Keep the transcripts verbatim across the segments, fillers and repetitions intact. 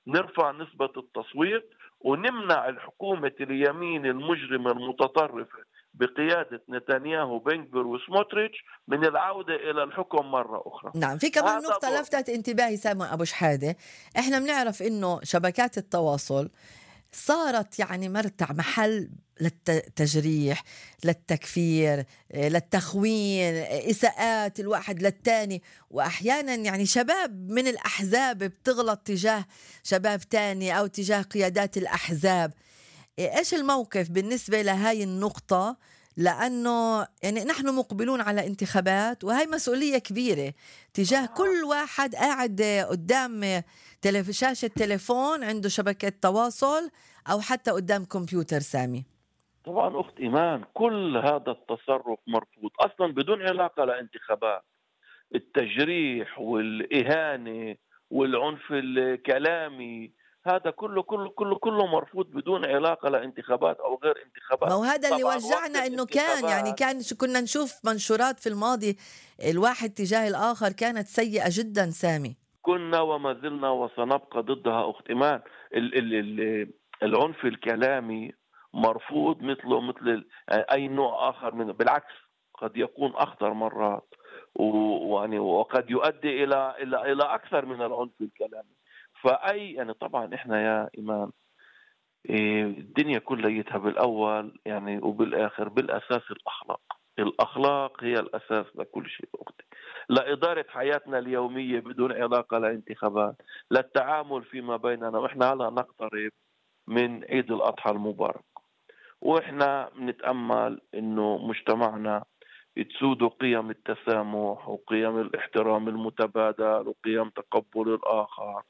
نرفع نسبة التصويت ونمنع الحكومة اليمين المجرمة المتطرفة بقيادة نتنياهو بنغفير وسموتريتش من العودة إلى الحكم مرة أخرى. نعم، في كمان هذا نقطة دورنا. لفتت انتباهي سامي أبو شحادة. احنا بنعرف إنه شبكات التواصل صارت يعني مرتع محل للتجريح، للتكفير، للتخوين، إساءات الواحد للتاني، وأحيانا يعني شباب من الأحزاب بتغلط تجاه شباب تاني أو تجاه قيادات الأحزاب. إيش الموقف بالنسبة لهاي النقطة؟ لأنه يعني نحن مقبلون على انتخابات، وهي مسؤولية كبيرة تجاه كل واحد قاعد قدام تلف- شاشة تليفون عنده شبكة تواصل أو حتى قدام كمبيوتر. سامي، طبعا أخت إيمان، كل هذا التصرف مرفوض أصلا بدون علاقة لانتخابات. التجريح والإهانة والعنف الكلامي، هذا كله كله كله كله مرفوض بدون علاقة لانتخابات أو غير ما انتخابات. هو هذا اللي طبعا وقت وجعنا إنه كان يعني الانتخابات كان شو كنا نشوف منشورات في الماضي الواحد تجاه الآخر كانت سيئة جدا. سامي، كنا وما زلنا وسنبقى ضدها أخت إيمان. ال ال ال العنف الكلامي مرفوض مثله مثل ال- أي نوع آخر منه، بالعكس قد يكون أخطر مرات، و- ويعني وقد يؤدي إلى إلى إلى أكثر من العنف الكلامي. فأي يعني طبعا إحنا يا إيمان، إيه، الدنيا كليتها بالأول يعني وبالآخر بالأساس الأخلاق. الأخلاق هي الأساس لكل شيء أختي، لإدارة حياتنا اليومية بدون علاقة لانتخابات، للتعامل فيما بيننا. وإحنا هلا نقترب من عيد الأضحى المبارك، وإحنا نتأمل إنه مجتمعنا تسود قيم التسامح وقيم الاحترام المتبادل وقيم تقبل الآخر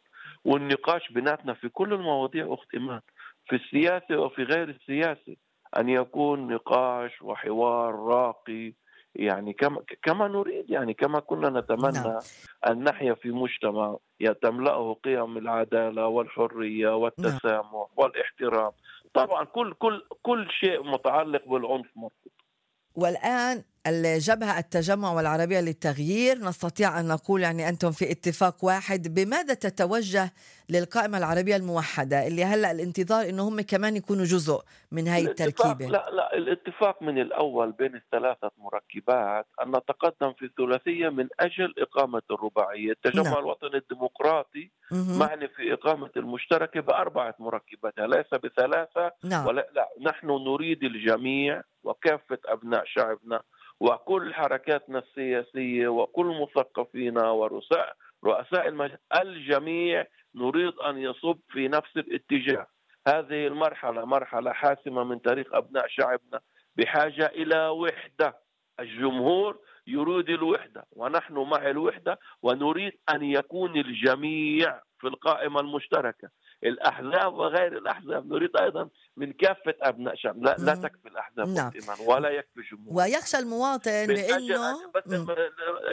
والنقاش بيناتنا في كل المواضيع أخت إيمان، في السياسة وفي غير السياسة، أن يكون نقاش وحوار راقي، يعني كما كما نريد، يعني كما كنا نعم. نتمنى أن نحيا في مجتمع تملأه قيم العدالة والحرية نعم. والتسامح والاحترام. طبعا كل كل كل شيء متعلق بالعنف مرفوض. والآن الجبهة التجمع والعربية للتغيير نستطيع أن نقول يعني أنتم في اتفاق واحد. بماذا تتوجه للقائمة العربية الموحدة اللي هلأ الانتظار إنه هم كمان يكونوا جزء من هاي الاتفاق التركيبة؟ لا لا الاتفاق من الأول بين الثلاثة مركبات أن نتقدم في الثلاثية من أجل إقامة الرباعية. نعم. التجمع الوطني الديمقراطي مهم. معني في إقامة المشتركة بأربعة مركبات، ليس بثلاثة. نعم. ولا لا، نحن نريد الجميع وكافة أبناء شعبنا وكل حركاتنا السياسية وكل مثقفينا ورؤساء رؤساء المجلس، الجميع نريد أن يصب في نفس الاتجاه. هذه المرحلة مرحلة حاسمة من تاريخ أبناء شعبنا، بحاجة إلى وحدة. الجمهور يريد الوحدة ونحن مع الوحدة، ونريد أن يكون الجميع في القائمة المشتركة، الأحزاب وغير الأحزاب. نريد أيضا من كافة أبناء شعب، لا, لا مهم. تكفي الأحزاب نعم. إيمان ولا يكفي الجمهور. ويخشى المواطن من أجل بأنه أن بس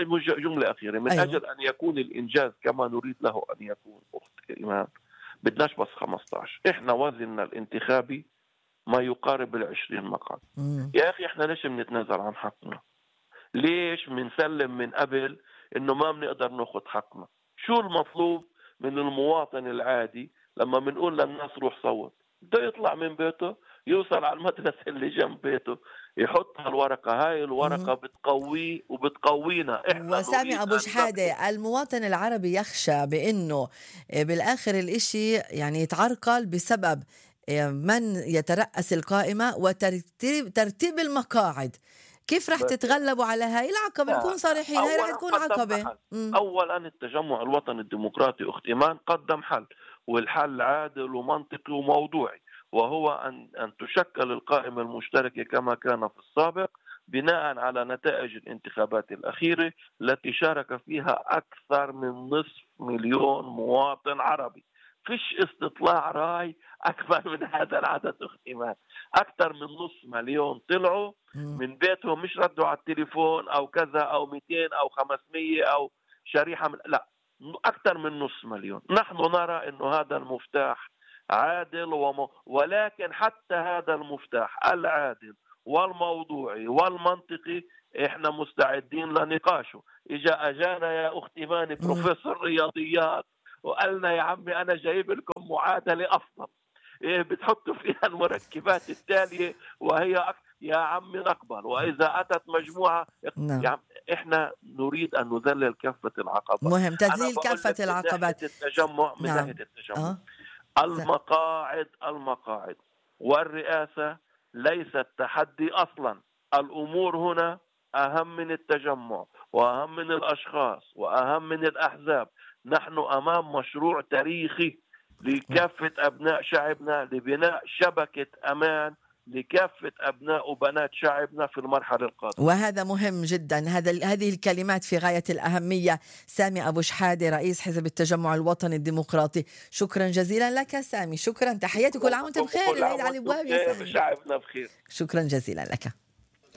مم. جملة أخيرة، من أيوة. أجل أن يكون الإنجاز كما نريد له أن يكون أخت إيمان، بدناش بس خمسة عشر. إحنا وزننا الانتخابي ما يقارب العشرين مقعد. مم. يا أخي إحنا ليش بنتنازل عن حقنا؟ ليش بنسلم من قبل إنه ما بنقدر ناخد حقنا؟ شو المطلوب من المواطن العادي لما بنقول للناس روح صوت؟ بده يطلع من بيته، يوصل على المدرسة اللي جنب بيته، يحط هالورقة. هاي الورقة مهم. بتقويه وبتقوينا. إحنا وسامي نريد أبو أن ندخل. شحادة، المواطن العربي يخشى بأنه بالآخر الإشي يعني يتعرقل بسبب من يترأس القائمة وترتيب ترتيب المقاعد. كيف رح بس تتغلبوا على هاي العقبة؟ لا نكون لا، صريحين، هاي رح أولا تكون قدمنا عقبة. حل. مم. أولا التجمع الوطني الديمقراطي أخت إيمان قدم حل، والحل عادل ومنطقي وموضوعي، وهو أن أن تشكل القائمة المشتركة كما كان في السابق بناء على نتائج الانتخابات الأخيرة التي شارك فيها أكثر من نصف مليون مواطن عربي. فيش استطلاع راي أكبر من هذا العدد أخت إيمان. أكثر من نصف مليون طلعوا مم. من بيتهم، مش ردوا على التليفون أو كذا أو مئتين أو خمسمية أو شريحة من، لا، أكثر من نصف مليون. نحن نرى أنه هذا المفتاح عادل وم... ولكن حتى هذا المفتاح العادل والموضوعي والمنطقي إحنا مستعدين لنقاشه. إجا أجانا يا أختي ماني مم. بروفيسور رياضيات وقالنا يا عمي أنا جايب لكم معادلة أفضل بتحطوا فيها المركبات التالية وهي أكثر. يا عم نقبل، وإذا أتت مجموعة نعم. يعني إحنا نريد أن نذلل كافة العقبات. مهم تذليل كافة العقبات. من ناحية التجمع من نعم. ناحية التجمع آه. المقاعد المقاعد والرئاسة ليست تحدي أصلا. الأمور هنا أهم من التجمع وأهم من الأشخاص وأهم من الأحزاب. نحن أمام مشروع تاريخي لكافة أبناء شعبنا لبناء شبكة أمان لكافة أبناء وبنات شعبنا في المرحلة القادمة، وهذا مهم جدا. هذا هذه الكلمات في غاية الأهمية. سامي أبو شحادة رئيس حزب التجمع الوطني الديمقراطي، شكرا جزيلا لك سامي. شكرا، تحياتي، كل عام وانت بخير، العيد على الابواب يا سامي. شعبنا بخير. شكرا جزيلا لك.